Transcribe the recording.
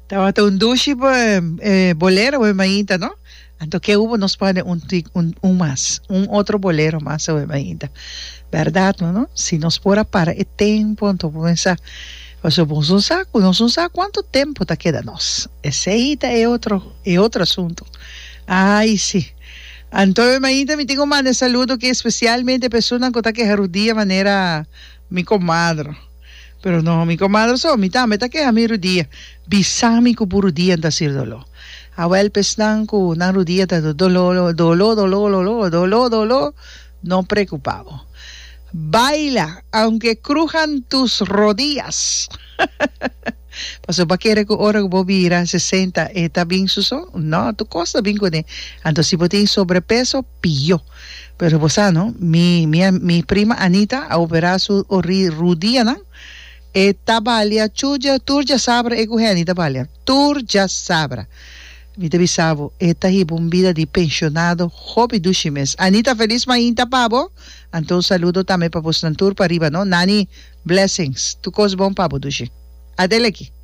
Tabata un dushi bolero awe mainta no? Anto ke hubo nos pone un un un mas, un otro bolero mas awe mainta. Berdad no no? Si nos por a para e tempo anto por pensa pasobra nos no sa ku nos no sa kuantu tempo ta keda nos. Esei ta e otro e otro asunto. Ai si. Anto awe mainta mi tin ku manda e saludo ki espesialmente personanan ku ta keha rudia manera mi komadre. Pero no mi comadre so, mi tambe ta keha mi rudia. Bisa mi cu bo rudia ta haci doló. Awel pa esnan cu nan rudia ta doló, doló, doló, doló, doló, doló, no preocupa bo. Baila, aunque crujan tus rodillas. Pasobra bo a kere cu ora cu bo bira sesenta e ta bin su so? No, tur cos ta bin cune. Anto si bo tin sobrepeso, pió. Pero bo sa no, mi mi mi prima Anita a opera su ori rudianan, e ta balia chuja tur djasabra e ku Henny ta balia tur djasabra. Mi ta bisa bo, e ta hiba un bida di pensionado hopi dushi mes. Anita felis mainta pa bo, anto un saludo tambe pa bosnan tur pariba no. Nani, blessings, tur kos bon pa bo dushi. Adeleki.